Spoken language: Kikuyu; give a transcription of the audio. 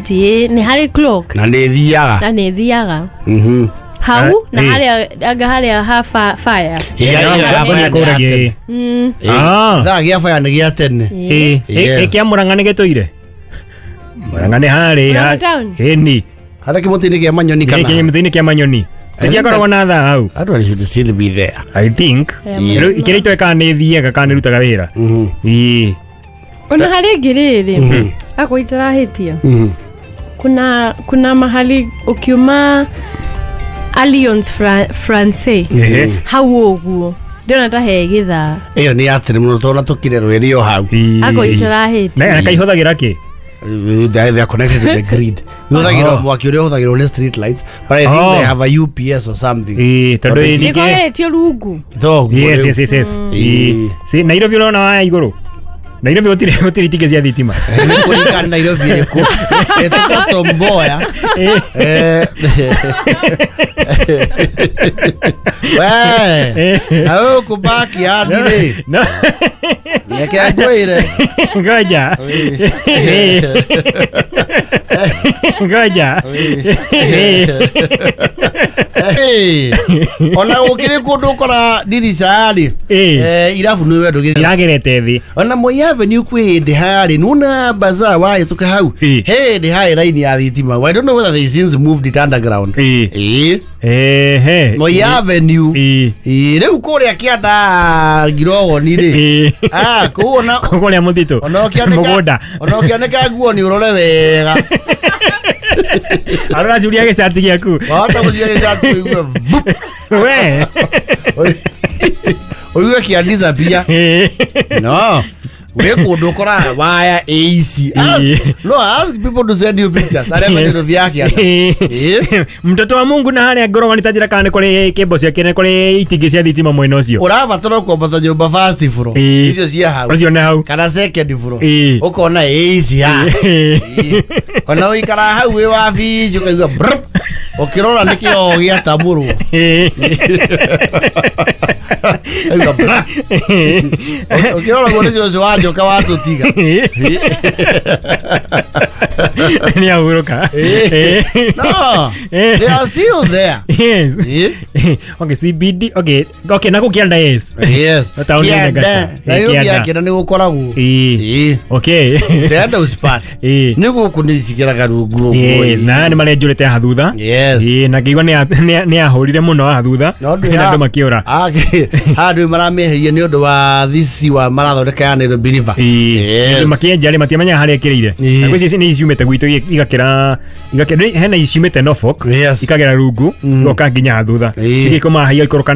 City nĩ harĩ clock. Na nĩ thiaga. Na nĩ thiaga. Hau na harĩa anga harĩa ha fire. Kũragia. Thaa gĩa fire nĩ gĩa tene. Ĩ kĩa Murang'a nĩ gĩtũire? Murang'a nĩ harĩ Murang'a town? Ĩni. Harĩa kĩmũtĩ-inĩ kĩa manyoni kana? Kĩmũtĩ-inĩ kĩa manyoni. Nĩkĩakoragwo na thaa hau. That one should still be there. I think. Rĩu kĩrĩa itoĩ kana nĩ thiaga kana nĩ rutaga wĩra. Ĩĩ. Ona harĩ ĩngĩ rĩrĩ akwa itarahĩtia, kuna mahali ukiuma Alliance Francais hau ũguo ndĩrona ta he gĩthaa. Ĩyo nĩ ya tene mũno tondũ tũkire rwĩrĩ o hau. Akwa itarahĩtia. Na kaihũthagĩra kĩ? They are connected to the grid. Ihũthagĩrwo mwaki ũrĩa ũhũthagĩrwo nĩ street lights, but I think they have a UPS or something. Ĩĩ, tondũ Tondũ ningĩ Nĩkogeretio rungu. Thoguo rĩu. Yes. Ĩĩ. Si Nairobi ũrona waya igũrũ. Nairobi gũtirĩ itingĩ cia thitima. Nĩ kũringana Nairobi ĩrĩkũ. Ĩtũkwo Tom Mboya. We na gũkũ backyard rĩ, No. reke ngwĩre. Ngoja. Ngoja. Hey, ona gũkĩrĩ kũndũ ũkora ndirica rĩ, irabu nĩ wendo Iragerete thĩ. Ona Moi Avenue kwĩ hĩndĩ harĩ nuna bazaar wahĩtũka hau, hĩndĩ harĩ raini ya thitima. I don't know whether they since moved it underground. Ĩĩ. Ehe. Moi Avenue. Ĩĩ, rĩu kũrĩa kĩanda Ngirogoni rĩ, ah, kũu ona Kũrĩa mũtitũ. ona ũkĩanĩka Mũgũnda. ona ũkĩanĩka nguo nĩ ũrore wega. Arora curia gĩcati gĩaku. Wahota gũcuria gĩcati ũigue vup. We. Ũigue kĩa disappear. No wĩ kũndũ ũkoraga waya ĩ ici. No ask people to send you pictures arĩa mendero vya kĩanda. Ĩĩ. Mtoto wa Mungu na harĩa ngorogani ta njĩra kana nĩ kũrĩ kĩmbo ciake nĩ kũrĩ itingĩ cia thitima mwena ũcio. Ũrabatara kwambata nyũmba first floor, icio cia hau. Ũcio nĩ hau. Kana second floor, ũkona ĩ ici ha. Ĩĩ. Ona ũikara hau wĩ wabici ũkaigua brrp, ũkĩrora nĩ kĩoo gĩatamũrwo. Kaigua brrp. Ũkĩrora guo nĩ cũcũ wa njoka watũtiga. Nĩ ahurũka. No, they are still there. Yes. Okay, CBD, okay, na gũkĩanda, yes. Yes. Taũni ya Kĩanda. Naivasha. Nairobi ya Kĩanda. kĩanda nĩ gũkoragwo. Ĩĩ. Ĩĩ. Kĩanda usipate. Nĩ gũkũ nĩ cigeraga rungu ũguo. Yes, na nĩ marenjũrĩte haha thutha. Yes. Ĩĩ, na ngĩigua nĩ ahũrire mũno haha thutha. No ndũ Na andũ makĩũra. Ah, handũ maramĩeheria nĩ ũndũ wa thisi wa marathondeka ya Nairobi River. Ĩĩ. Yes. Andũ makĩenja rĩ matiamenyaga harĩa ĩkĩrĩire. Na gwĩciria nĩ ciumĩte gwitũ igakĩra hena ciumĩte Norfolk, ikagera rungu igoka nginya haha thutha. Cigĩkoma haha igaikũrũka.